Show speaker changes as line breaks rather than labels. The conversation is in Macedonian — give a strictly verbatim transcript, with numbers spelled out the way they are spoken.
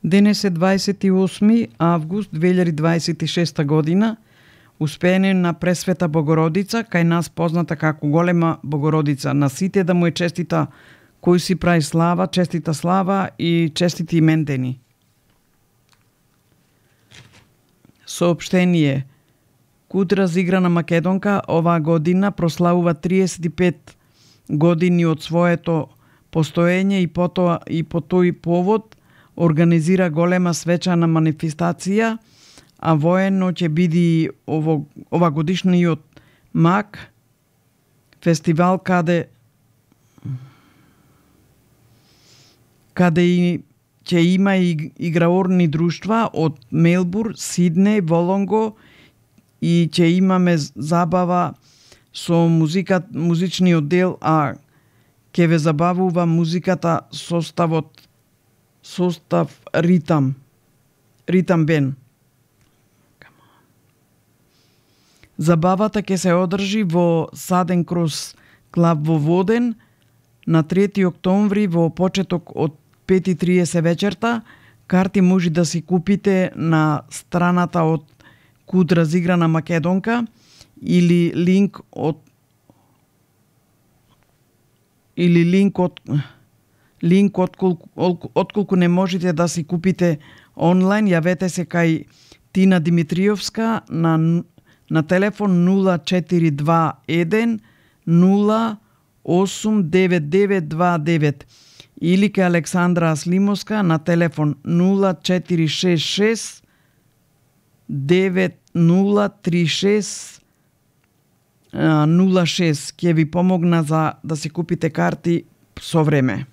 Денес е дваесет и осми август две илјади дваесет и шеста година, успеење на Пресвета Богородица, кај нас позната како Голема Богородица. На сите да му е честита кој си прави слава, честита слава и честити имендени. Соопштение. Куд разиграна Македонка оваа година прославува триесет и пет години од своето постоење и потоа и по тој повод организира голема свечана манифестација, а воено ќе биде ово, ова годишниот МАК фестивал каде каде и ќе има и играорни друштва од Мелбурн, Сиднеј, Волонго и ќе имаме забава со музика, музичниот дел, а ќе ве забавува музиката составот состав ритам. Ритам бен. Забавата ќе се одржи во Саден Крос клаб во Воден на трети октомври во почеток од пет и триесет вечерта. Карти може да си купите на страната од Куд разиграна Македонка или линк од или линк од линк отколку, отколку не можете да си купите онлайн, јавете се кај Тина Димитриевска на на телефон нула четири два еден нула осум девет девет два девет или кај Александра Аслимовска на телефон нула четири шест шест девет нула три шест нула шест. Ќе ви помогна за да си купите карти со време.